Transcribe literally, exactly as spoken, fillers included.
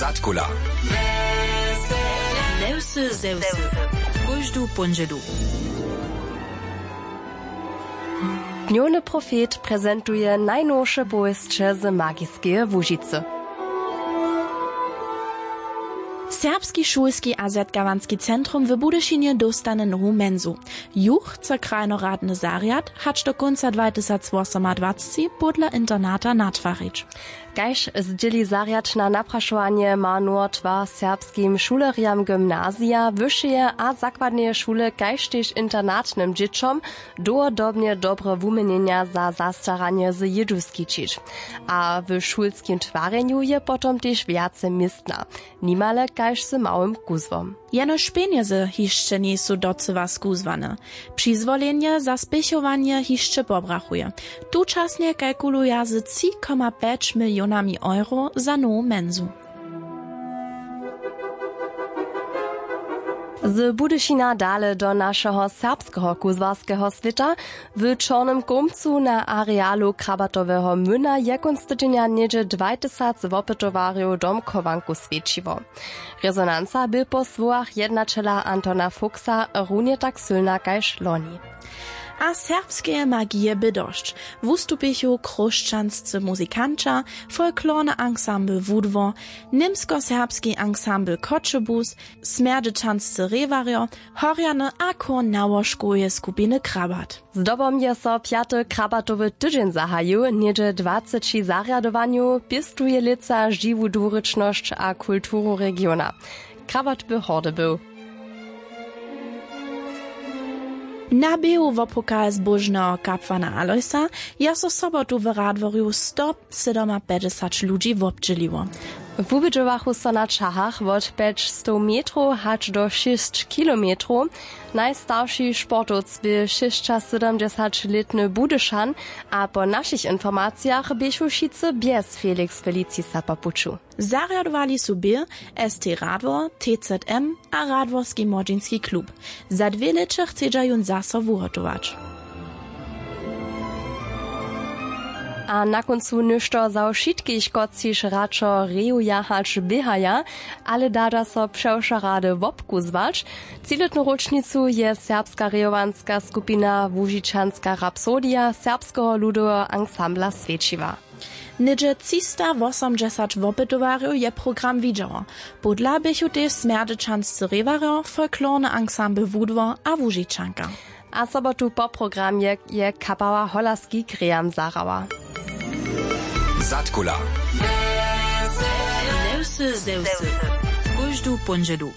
Zadkula. Newsy ze wsy. Kóždu póndźelu. Dnjowny profet prezentuje najnowše powěsće z Magiskeje Łužicy. Serbski šulski a zetkawanski centrum w Budyšinje dóstanje nowu mensu. Ju chce krajnoradny zarjad hač do kónca dwatysacwosomadwacci podla internata natwarić. Kaž zdźěli zarjad na naprašowanje, ma nowy twar serbskim šulerjam gymnazija, wyšeje a zakładneje šule kaž tež internatnym dźěćom dołhodobnje dobre wuměnjenja za zastaranje z jědu skićić. A w šulskim twarjenju je potom tež wjace městna, nimale kaž z małym kuzłom. Jenož pjenjezy hišće njejsu docyła skuzłane. Přizwolenje za spěchowanje hišće pobrachuje. Tučasnje kalkuluja z tři koma pjeć milionami euro za nowu mensu. Z Budyšina dale do našeho serbskeho kuzłarskeho swěta. W Čornym Kołmcu na arealu Krabatoweho młyna je kónc tydźenja něhdźe dwaj tysac wopytowarjow domchowanku swjećiło. Rezonanca bě po słowach jednaćela Antona Fuchsa runje tak sylna kaž loni. A serbskeje magije bě dosć. Wustupichu chróšćanscy muzikanća, folklorny ansambl Wudwor, němskoserbski ansambl Choćebuz, smjerdźećanscy rěwarjo, horjany a chór nałožkoweje skupiny Krabat. Zdobom je so pjaty Krabatowy tydźeń zahajił. Něhdźe dwaceći zarjadowanjow pěstuje lětsa žiwu dwurěčnosć a kulturu regiona. Krabat by hordy był. Na běhu wopokal zbóžneho kapłana Alojsa je so sobotu w Radworju sto sydomapjećdźesać ludźi wobdźěliło. Wubědźowachu so na ćahach wot pjećstow metrow hač do šěsć kilometrow. Najstarši sportowc bě šěsćasydomdźesaćlětny Budyšan a po našich informacijach běchu wšitcy bjez Felix Felicisa po puću. Zarjadowali su bě S T Radwor, T Z M a Radworski młodźinski klub. Za dwě lěće chcedźa jón zaso wuhotować. A na kóncu něšto za wšitkich, kotřiž radšo rejuja hač běhaja, ale dada so přewšo rady wobkuzłać. Třilětnu róčnicu je serbska rejowanska skupina Łužičanska rapsodija serbskeho ludoweho ansambla swjećiła. Něhdźe třistawosomdźesać wopytowarjow je program widźało. Podla běchu tež smjerdźećanscy rěwarjo, folklorny ansambl Wudwor a Łužičanka. A sobotu po programje je kapała Hola Ski Graham zahrała. Zadkula. Newsy ze wsy. Kóždu póndźelu.